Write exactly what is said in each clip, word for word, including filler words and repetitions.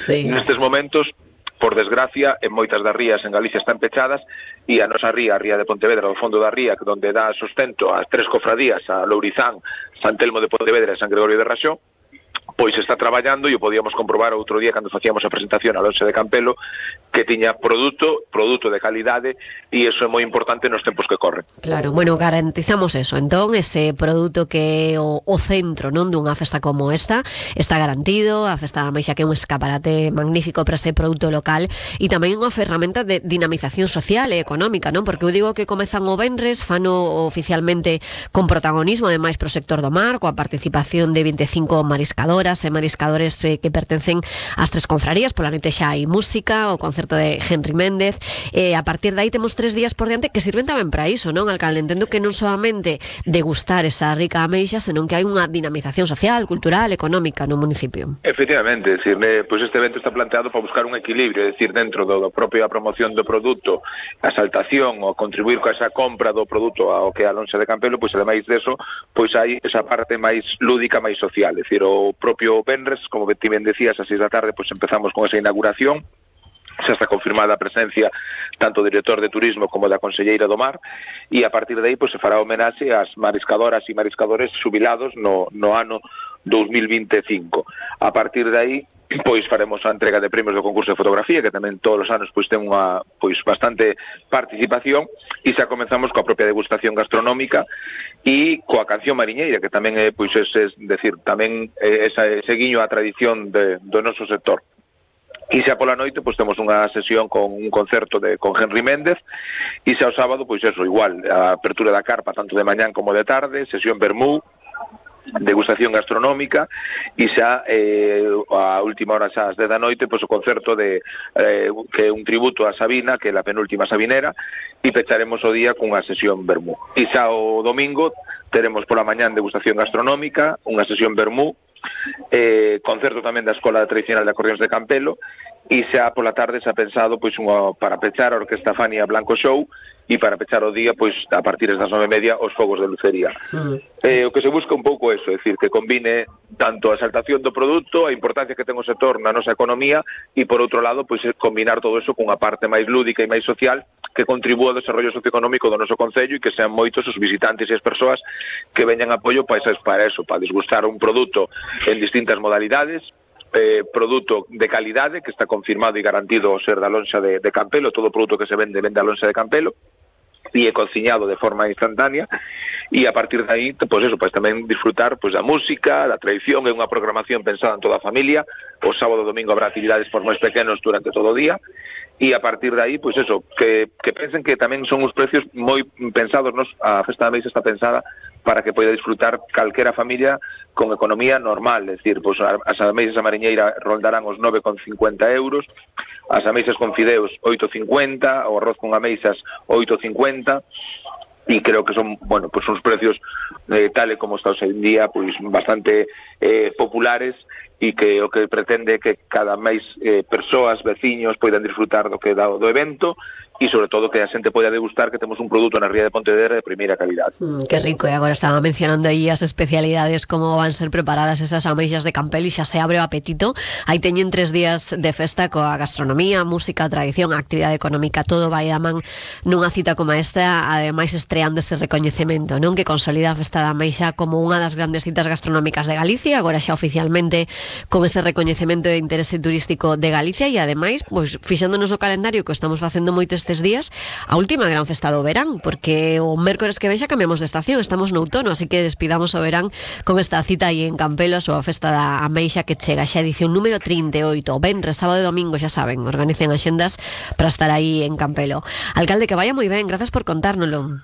Sí. Nestes momentos, por desgracia, en moitas das rías en Galicia están pechadas e a nosa ría, a ría de Pontevedra, do fondo da ría, onde dá sustento ás tres cofradías, a Lourizán, San Telmo de Pontevedra e San Gregorio de Raxó, pois está traballando e o podíamos comprobar outro día cando facíamos a presentación a Lonxa de Campelo, que tiña produto, produto de calidade, e iso é moi importante nos tempos que corren. Claro, bueno, garantizamos eso, entón, ese produto que é o, o centro, non, dunha festa como esta, está garantido, a Festa da Ameixa que é un escaparate magnífico para ese produto local e tamén unha ferramenta de dinamización social e económica, non? Porque eu digo que comezan o venres, fano oficialmente con protagonismo, ademais pro sector do mar, coa participación de vinte e cinco mariscadoras e mariscadores eh, que pertencen ás tres confrarías. Pola noite xa hai música, o concerto de Henry Méndez, e a partir de aí temos tres días por diante que sirven tamén para iso, non, alcalde? Entendo que non solamente degustar esa rica ameixa, senón que hai unha dinamización social, cultural, económica no municipio. Efectivamente, é dicir, eh, pois este evento está planteado para buscar un equilibrio, é dicir, dentro do, do propia promoción do produto, a exaltación, o contribuir con esa compra do produto ao que é a Lonxa de Campelo, pois ademais deso, pois hai esa parte máis lúdica, máis social, é dicir, o propio venres, como ti ben decías, a seis da tarde, pois empezamos con esa inauguración. Xa está confirmada a presencia tanto do director de turismo como da conselleira do mar, e a partir de aí pois, se fará homenaxe ás mariscadoras e mariscadores xubilados no, no ano dos mil vinte e cinco. A partir de aí pois faremos a entrega de premios do concurso de fotografía, que tamén todos os anos pois ten unha pois bastante participación, e xa comenzamos coa propia degustación gastronómica e coa canción mariñeira, que tamén é pois ese, decir, tamén é esa, ese guiño á tradición de, do noso sector. E xa pola noite, pois temos unha sesión con un concerto de con Henry Méndez, e xa o sábado, pois eso, igual, a apertura da carpa tanto de mañán como de tarde, sesión vermú, degustación gastronómica, e xa eh, a última hora xa ás dez da noite, pois o concerto de eh, que é un tributo a Sabina, que é a penúltima sabinera, e pecharemos o día cunha sesión vermú. E xa o domingo teremos pola mañán degustación gastronómica, unha sesión vermú, eh, concerto tamén da Escola Tradicional de Acordeóns de Campelo, e xa pola tarde xa pensado pois unha, para pechar a Orquesta Fania Blanco Show, e para pechar o día pois a partir das nove e media os fogos de lucería. Mm. Eh, o que se busca un pouco eso, é dicir, que combine tanto a exaltación do produto, a importancia que ten o sector na nosa economía, e por outro lado pois combinar todo eso cunha parte máis lúdica e máis social que contribúa ao desarrollo socioeconómico do noso concello, e que sean moitos os visitantes e as persoas que veñan apoio para eso, para eso, para disgustar un produto en distintas modalidades, eh, produto de calidade que está confirmado e garantido o ser da Lonxa de, de Campelo. Todo o produto que se vende vende a Lonxa de Campelo e é cociñado de forma instantánea, e a partir de aí, pois eso, pois tamén disfrutar pois da música, da tradición. É unha programación pensada en toda a familia. O sábado e domingo habrá actividades por máis pequenos durante todo o día, e a partir de aí, pois eso, que, que pensen que tamén son os precios moi pensados, nos, a Festa da Ameixa está pensada para que poida disfrutar calquera familia con economía normal, é dicir, pois as ameixas a mariñeira rondarán os nove con cincuenta euros, as ameixas con fideos oito cincuenta, o arroz con ameixas oito cincuenta, e creo que son, bueno, pues son os precios eh, tal e como está hoxe en día, pois bastante eh, populares, e que o que pretende é que cada máis eh, persoas, veciños, poidan disfrutar do que dá do evento, e sobre todo que a xente poida degustar que temos un produto na ría de Pontevedra de primeira calidade. Mm, que rico, e agora estaba mencionando aí as especialidades, como van ser preparadas esas ameixas de Campelo, e xa se abre o apetito. Aí teñen tres días de festa coa gastronomía, música, tradición, actividade económica, todo vai a man nunha cita como esta, ademais estreando ese recoñecemento, non, que consolida a Festa da Ameixa como unha das grandes citas gastronómicas de Galicia, agora xa oficialmente con ese recoñecemento de interese turístico de Galicia, e ademais, pois, fixándonos o calendario que estamos facendo moitos estes días, a última gran festa do verán, porque o mércores que ven xa cambiamos de estación, estamos no outono, así que despidamos o verán con esta cita aí en Campelo, a súa Festa da Ameixa, que chega xa edición número trinta e oito, venres, sábado e domingo, xa saben, organicen axendas para estar aí en Campelo. Alcalde, que vaya moi ben, grazas por contárnoslo.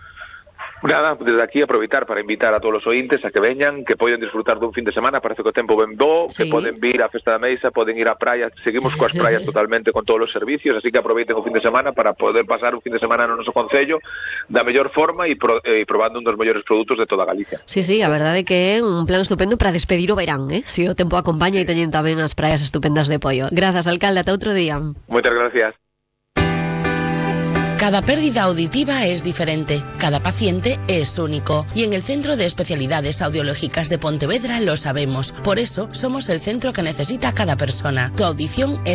Nada, desde aquí aproveitar para invitar a todos os ointes a que veñan, que poden disfrutar dun fin de semana. Parece que o tempo ben bo, sí, que poden vir á Festa da Ameixa, poden ir á praia, seguimos coas praias totalmente con todos os servicios, así que aproveiten o fin de semana para poder pasar un fin de semana no noso concello da mellor forma e, pro, e probando un dos mellores produtos de toda Galicia. Sí, sí, a verdade é que é un plan estupendo para despedir o verán, eh? Si o tempo acompaña, e teñen tamén as praias estupendas de Poio. Grazas, alcalde, ata outro día. Moitas gracias. Cada pérdida auditiva es diferente, cada paciente es único y en el Centro de Especialidades Audiológicas de Pontevedra lo sabemos. Por eso somos el centro que necesita cada persona. Tu audición es